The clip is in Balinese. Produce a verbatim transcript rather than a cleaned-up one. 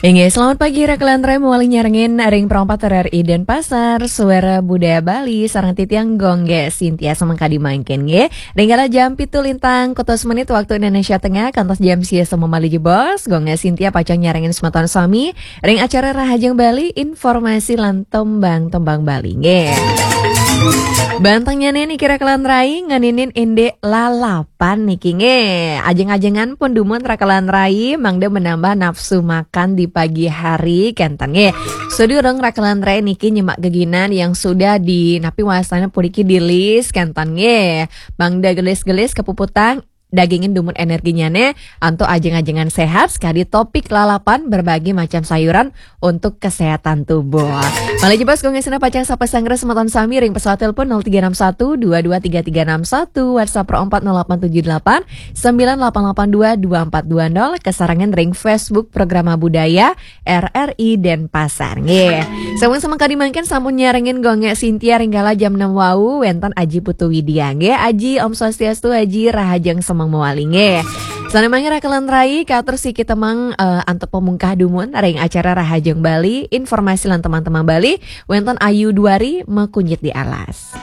Inggih, selamat pagi, Raka lan Rai, mawali nyarengin ring Pro empat R R I Denpasar, Suara Budaya Bali, sareng titiang Gung Sintia semeng kadi mangkin, nggih. Ring kala jam pitu lintang kutus menit waktu Indonesia Tengah, kantos jam sia semeng malih jebos, Gung Sintia pacang nyarengin semeton sami ring acara Rahajeng Bali, informasi lan tembang-tembang Bali, nggih. Bantengnyane niki, Raka lan Rai, ngeninin indik lalap pan niki, nggih. Ajeng-ajengan pun dumun, Raka lan Rai, mangda menambah nafsu makan di pagi hari, kenten, nggih. Sadurung, Raka lan Rai, niki nyemak geginan yang sudah di, napi wastane puniki, di-list, kenten, nggih. Mangda gelis-gelis kapuputang, dagingin dumun energinyane, antuk ajeng-ajengan sehat, sekadi topik lalapan, berbagai macam sayuran untuk kesehatan tubuh. Malih jebos, Gung Sintia pacang sapa sanggra semeton sami ring pesawat telepon nol tiga enam satu dua dua tiga tiga enam satu, WhatsApp Pro empat nol delapan tujuh delapan sembilan delapan delapan dua dua empat dua nol, kasarengan ring Facebook Programa Budaya R R I Denpasar, nggih. Sampun semeng kadi mangkin sampun nyarengin Gung Sintia ring kala jam enam wau, wenten Aji Putu Widya, nggih. Aji, Om Swastiastu, Aji, rahajeng semeng mawali, nggih. Sane mangkin, Raka lan Rai, katur siki temeng, eh, antuk pamungkah dumun ring acara Rahajeng Bali, informasi lan tembang-tembang Bali, wenten Ayu Dwari makunyit di alas.